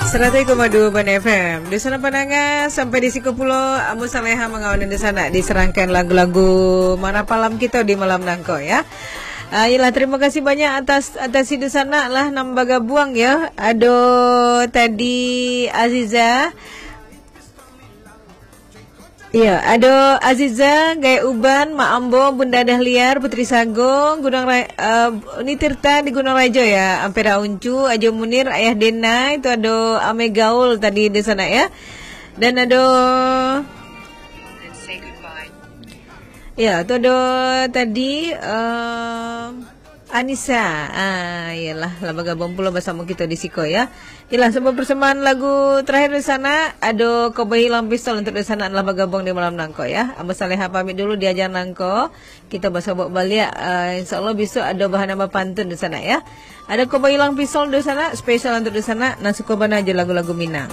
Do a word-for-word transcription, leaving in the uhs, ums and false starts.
Saratus koma duo Banda F M. Dunsanak pandanga, sampai di siko pulo, Ambo Saleha mangawan dunsanak di sarangkaian lagu-lagu marapalam kito di malam nangko, ya. Ah, iyolah, terima kasih banyak atas, atas dunsanak lah nan bagabuang, ya. Ado tadi Aziza. Iya, ado Aziza, Gaek Uban, Mak Ambo, Bunda Dahliar, Putri Sago, Gunung Ra-, eh, ni Tirta di Gunung Rajo, ya, Ampera Uncu, Ajo Munir, Ayah Denai, itu ado Ame Gaul tadi di sana, ya. Dan ado, ya, itu ado tadi, eh, Anissa. Ah, iyolah, lah bagabuang pulo basamo kito di siko, ya. Iyolah, sabuah persembahan lagu terakhir di sana, ado Koboi Hilang Pistol untuk di sana lah bagabuang di malam nangko, ya. Ambo Saleha pamit dulu di aja nangko. Kito basobok baliak, ah, insya Allah besok ado bahan nambah pantun di sana, ya. Ado Koboi Hilang Pistol di sana, spesial untuk di sana, nan suko bana jo lagu-lagu Minang.